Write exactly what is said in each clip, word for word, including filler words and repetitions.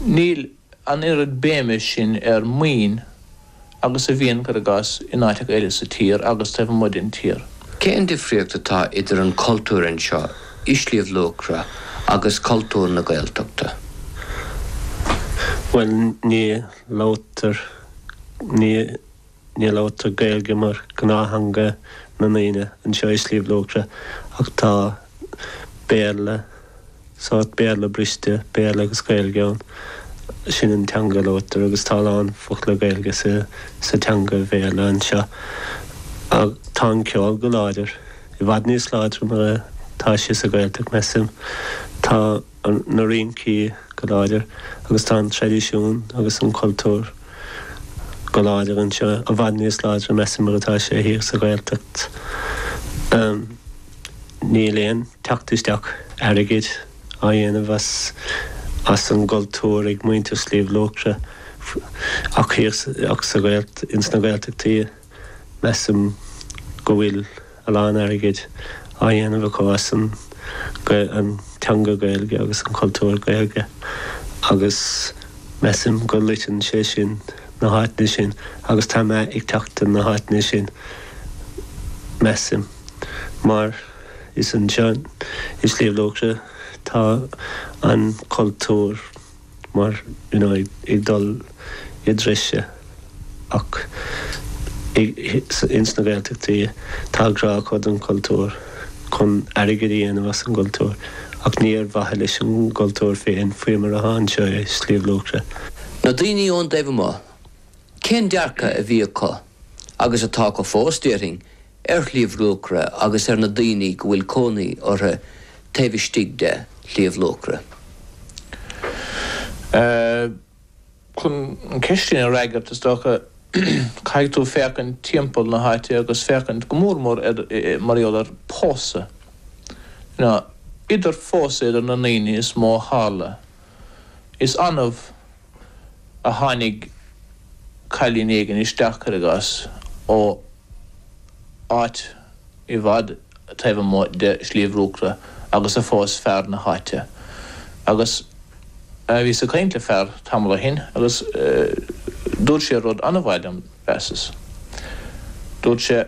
Níl an oiread béime sin ar maoin agus a bhíonn, cuir i gcás, in áiteacha eile sa tír agus taobh amuigh den tír. Cén difríocht atá idir an cultúr anseo i Sliabh Luachra agus cultúr na Gaeltachta? Bhuel, ní labhtar, ní ní labhtar Gaeilge mar gnáththeanga na ndaoine anseo i Sliabh Luachra ach tá Béarla, sórt Béarla briste, Béarla agus Gaeilge ann. Sin an teanga a labhtar agus tá a lán focla Gaeilge sa sa teanga Bhéarla anseo. Ach tá an ceol go láidir, i bhfad níos láidre mar atá sé sa Ghaeltacht, measaim. Tá na rincí go láidir agus tá an traidisiún agus an cultúr go láidir anseo, i bhfad níos láidre, measaim, mar atá sé thiar sa Ghaeltacht. Níl aon teacht isteach airgid á dhéanamh as as an gcultúr ag muintir Sliabh Luachra ach thiar ach sa Ghaelt ins na Gaeltachtaí measaim go bhfuil a lán airgid á dhéanamh acu as an an teanga Gaeilge agus an cultúr Gaeilge agus measaim go loiteann sé sin na háiteanna sin agus tá meath ag teacht ar na háiteanna sin, measaim, mar is anseo i Sliabh Luachra tá an cultúr mar you know ag dul i dtreise ach ins na Gaeltachtaí tá grá acu don chultúr chun airgead a dhéanamh as an gcultúr ach ní ar mhaithe leis an gcultúr féin faoi mar atá anseo i Sliabh Luachra. Na daoine ón dtaobh amuigh, cén dearcadh a bhí acu, agus atá acu fós, déarfainn, ar Shliabh Luachra agus ar na daoine go bhfuil cónaí orthu taobh istigh de Shliabh Luachra? Chun an cheist sin a fhreagairt, is dócha, caithfidh tú féachaint timpeall na háite agus féachaint go mór mór ar, mar gheall ar pósadh. You know, idir phósadh idir na ndaoine is mó a tharla. Is annamh a tháinig cailín éigin isteach, cuir i gcás, ó áit i bhfad taobh amuigh de Shliabh Luachra agus a phós fear na háite. Agus bhíos ag caint le fear tamall ó shin agus dúirt sé rud an-mhaith liom, mheasas. Dúirt sé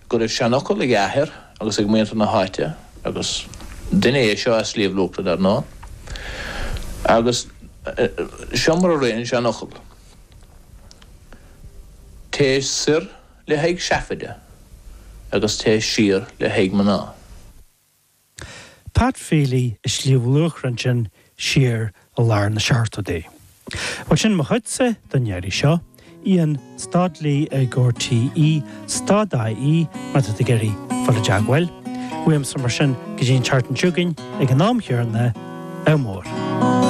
go raibh seanfhocal ag a athair agus ag muintir na háite, agus duine é seo as Sliabh Luachra dar ndóigh, agus seo mar a rith an seanfhocal, Téigh soir le haghaidh seafaide agus téigh siar le haghaidh mná. Pat Feely i Sliabh Luachra ansin siar i lár na seachtóidí. Bhuel sin mo chuidse don iarraidh seo. Ian stad Lee ag RTE stad IE má tá tú ag iarraidh fáil i dteagmháil. Uaimse mar sin go dtí an tseachtain seo chugainn ag an am chéanna, ádh mór.